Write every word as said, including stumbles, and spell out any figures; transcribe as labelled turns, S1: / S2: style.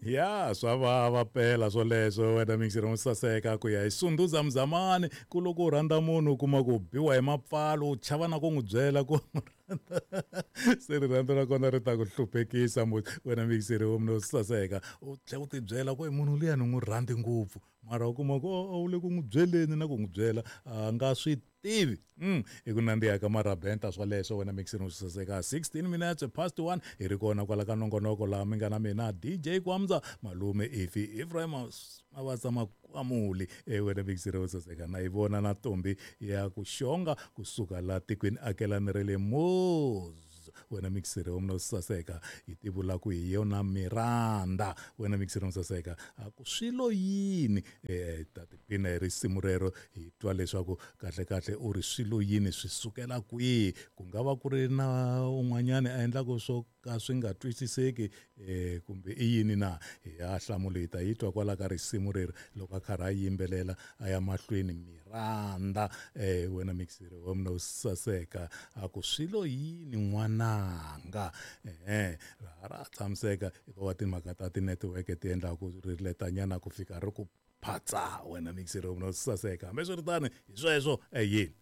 S1: Ya, swa vava pela swoleswo wena mixiri mo saseka ku ya hi Sunduza Mzamani ku loko u rhandza munhu u kuma ku biwa hi mapfalo u chava na ku n'wi byela ku se rirhandzu ra kona ri ta ku hluphekisa wena mixiri wo munhu saseka u tlhela u ti byela ku munhu luya ni n'wi rhandzi ngopfu mara u kuma ku a wu le ku n'wi byeleni na ku n'wi byela a nga swi tivi mm i ku nandziha ka marabenta swoleswo wena mixiri wo saseka sixteen minutes past one hi ri kona kwala ka nongonoko laha mi nga na mina D J Kwamza malume Ifi Ephraim Mavatsa Makwamuli e wena mixiri wo saseka na yi vona na ntombi ya ku xonga kusuka la tikweni akelani ra le Moz wena mixiri wa munhu saseka yi tivula ku hi yona Miranda wena mixiri wa saseka a ku swilo yini eh ta tipina hi risimu rero hi twa leswaku kahle kahle u ri swilo yini swi sukela kwihi ku nga va ku ri na un'wanyana a endlaka swo ka swi nga twisiseki eh kumbe i yini na hi ya hlamula hi ta yi twa kwala ka risimu rero loko a karhi a yimbelela a ya mahlweni Miranda eh wena mixiri wa munhu saseka a ku swilo yini n'wananga eh ra tshamiseka hikuva timhaka ta ti-network ti endla ku ri letanyana ku fika ri ku phatsa wena mixiri wa munhu saseka hambiswiritano hi sweswo e yini.